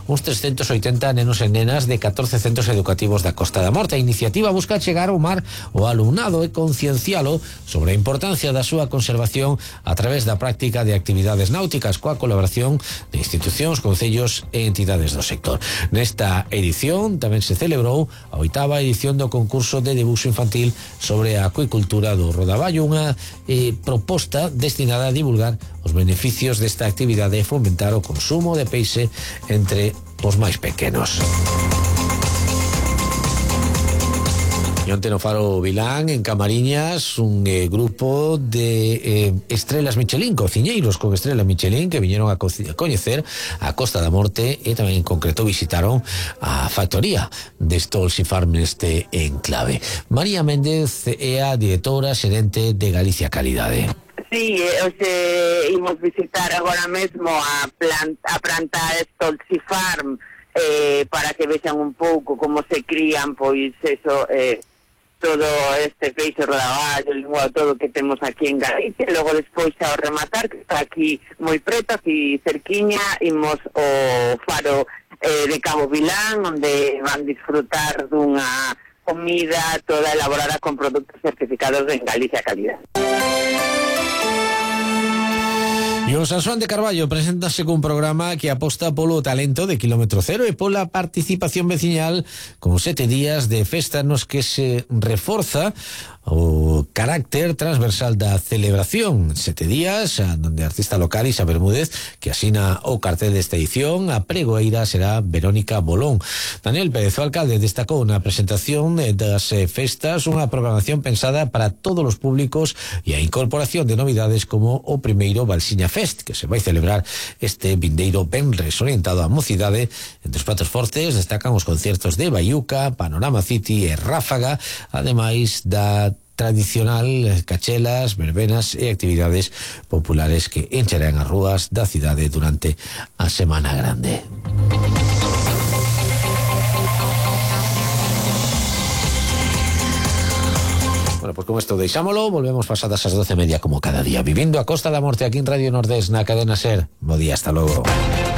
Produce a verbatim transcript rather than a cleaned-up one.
uns trescentos oitenta nenos e nenas de catorce centros educativos da Costa da Morte. A iniciativa busca chegar ao mar o alumnado e conciencialo sobre a importancia da súa conservación a través da práctica de actividades náuticas coa colaboración de institucións, concellos e entidades do sector. Nesta edición tamén se celebrou a oitava edición do concurso de debuxo infantil sobre a acuicultura do Rodaballo, unha eh, proposta destinada a divulgar os beneficios desta actividade e fomentar o consumo de peixe entre os máis pequenos. E onte no Faro Vilán, en Camariñas, un eh, grupo de eh, estrelas Michelin, cociñeiros con estrela Michelin, que viñeron a, co- a coñecer a Costa da Morte e tamén en concreto visitaron a factoría de Stolzy Farm neste enclave. María Méndez é a directora xerente de Galicia Calidade. Sí, hoxe imos visitar agora mesmo a planta, a planta Stolzy Farm eh, para que vexan un pouco como se crían, pois eso, eh, todo este peixe rodaballo, lingua, todo que temos aquí en Galicia. Logo despois ao rematar, que está aquí moi preto, aquí cerquiña, imos ao faro eh, de Cabo Vilán, onde van disfrutar dunha comida toda elaborada con produtos certificados en Galicia Calidad. E o San Xoán de Carballo preséntase cun programa que aposta polo talento de Kilómetro Cero e pola participación veciñal con sete días de festa nos que se reforza o carácter transversal da celebración. Sete días onde a artista local Isa Bermúdez, que asina o cartel desta edición, a pregoeira será Verónica Bolón. Daniel Pérez, o alcalde, destacou na presentación das festas unha programación pensada para todos os públicos e a incorporación de novidades como o primeiro Balsiña Fest, que se vai celebrar este vindeiro venres, orientado á mocidade. Entre os pratos fortes destacan os conciertos de Baiuca, Panorama City e Ráfaga, ademais da tradicional cachelas, verbenas e actividades populares que encherán as rúas da cidade durante a Semana Grande. Bueno, pues con esto deixámolo, volvemos pasadas as doce e media como cada día, vivindo a Costa da Morte aquí en Radio Nordés na cadena SER. Bo día, hasta logo.